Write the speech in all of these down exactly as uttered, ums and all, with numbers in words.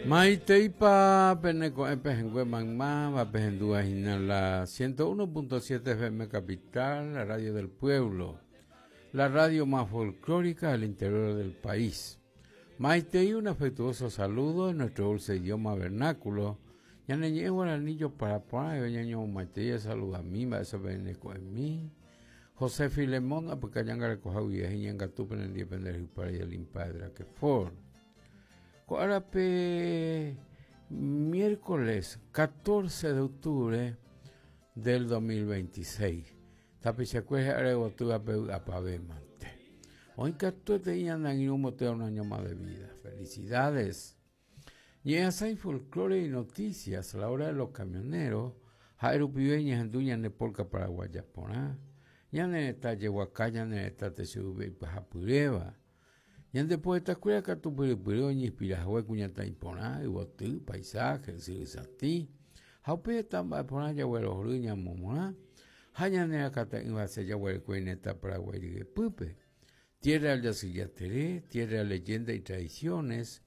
Maiteipa peneko'ẽ pehẽngue maymáva pehendúva hína la ciento uno punto siete F M Capital, la radio del pueblo, la radio más folclórica del interior del país. Maitei, un afectuoso saludo en nuestro dulce idioma vernáculo. Ñane ñe'ẽ guaraní jopara porã, ñaño maitei saluda a mí, eso peneko'ẽ mi. José Filemón, apyka ñangarekoha guive ñangatu penendie pende rypáre limpadra que for. Ko árape miércoles catorce de octubre del dos mil veintiséis. Tapichakuéra aregotývape vy'apavẽmante. Oĩ katuete ñane angirũ un año más de vida. Felicidades. Ñe'ẽasãi folclore y noticias, la hora de los camioneros, ha'e rupive ñahendu ñane polka paraguaya porã, ñane retã jeguaka, ñane retã techyvype ipahapyréva. Ñande poetakuéra katu pyrypyry oñeinspirahague kuñataĩ porã, yvoty, paisaje, ysyry satĩ, ha upe heta mba'e porã jaguerohory ñamomorã, ha ñane rakata'ỹva se jaguerekue neta Paraguay ryepýpe. Tierra del Yacyyateré, tierra de leyenda y tradiciones,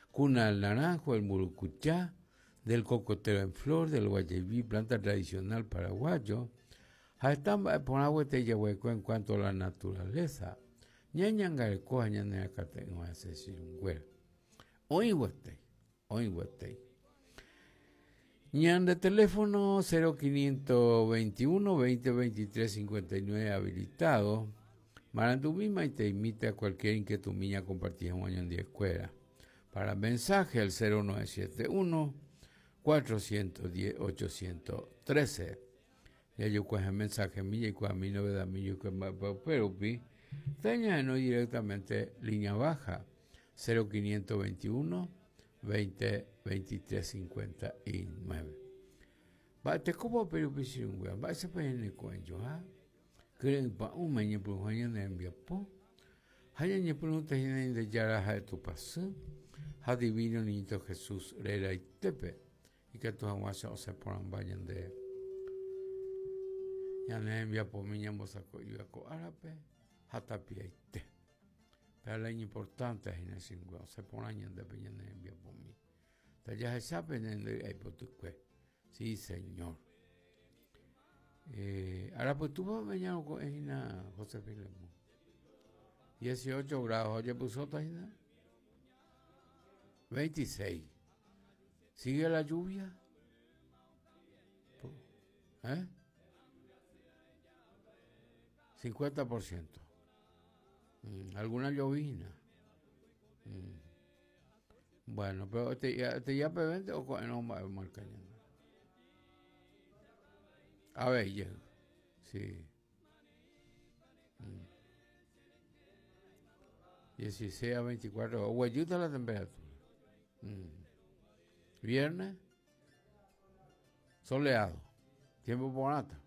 cuna del naranjo, del murucuchá, del cocotero en flor, del guayaibí, planta tradicional paraguayo, ha heta mba'e porã gueteri jaguerekue en cuanto a la naturaleza. Ñañangareko ha ñane rakata'ỹva hese chirũnguéra. Oĩ gueteri, oĩ gueteri. Ñande teléfono cero quinientos veintiuno, veinte, veintitrés, cincuenta y nueve habilitado. Marandumi maite imita cualquier inquietud mía compartida un año en diez escuela. Para mensaje al cero nueve siete uno, cuatrocientos diez, ochocientos trece. Ya yo coge mensaje mía y cua mi novedad mía yo que ma, pa, pero pi, teña no directamente línea baja cero quinientos veintiuno, veinte, veintitrés, cincuenta y nueve. Va, te como pero pi si un weón, va, ese pe en el cuello, ¿ah? Creen pa un meñe por un año de enviapo. Haya ñe por un tejina de yara de tu pasú. Ha divino niñito Jesús rera y tepe. Y que tus aguas o se poran vayan de ya ne enviapo mi ñambo saco iba ko árabe hata pie y te. Pero la importante es en el cinco, se poran de peña ne enviapo mi. Ta ya se sabe en el hipotecue. Sí, señor. Eh, ahora pues tú vas a mañana con Ejina José Filemón. dieciocho grados, oye, puso Tajina. veintiséis. ¿Sigue la lluvia? ¿Eh? cincuenta por ciento. Mm, alguna llovizna. Mm. Bueno, pero te, ya, te ya P veinte o con, no, va a marcar ya. A ver, llega. Sí. Mm. dieciséis a veinticuatro. Guayuta la temperatura. Mm. Viernes, soleado. Tiempo bonata.